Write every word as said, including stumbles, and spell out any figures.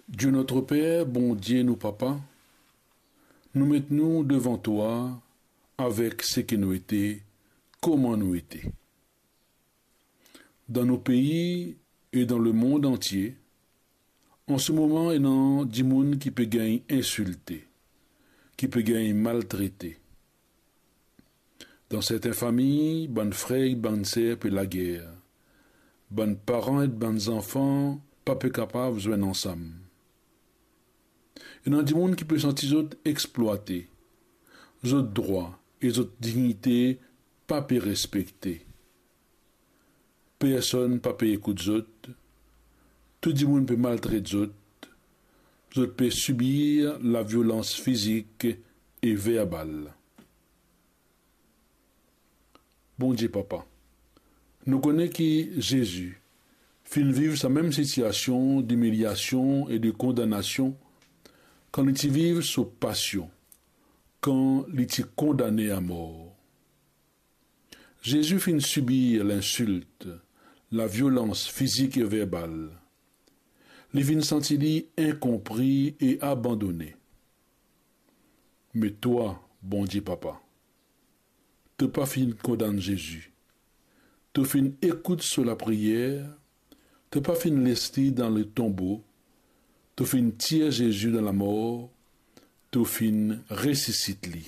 Dieu notre Père, Bondie nou Papa, nou met nou devan twa avek seki nou ete, kouma nou ete. Dan nou pei e dan lemond antie, an se moman ena dimoun ki pe gagn insilte, ki pe gagn maltrete. Dan sertin fami, bann frer ek bann ser pe lager. Bann paran ek bann zanfan pa pe kapav zwenn ansam. Ena dimoun ki pe santi zot explwate, zot drwa e zot dignite pa pe respekte. Personn pa pe ekout zot, tou dimoun pe maltret zot, zot pe sibir laviolans fizik e verbal. Bondie Papa, nou kone ki Zezi finn viv sa mem sitiasion dimiliasion e de kondanasion kan li ti viv so pasion, kan li ti kondane amor. Zezi finn sibir linsilt, laviolans fizik e verbal. Li finn santi li inkonpri e abandone. Me twa, Bondie Papa, to pa finn kondann Zezi. To finn ekout so lapriyer, to pa finn les li dan letonbo, to finn tir Zezi dan lamor, to finn resisit li.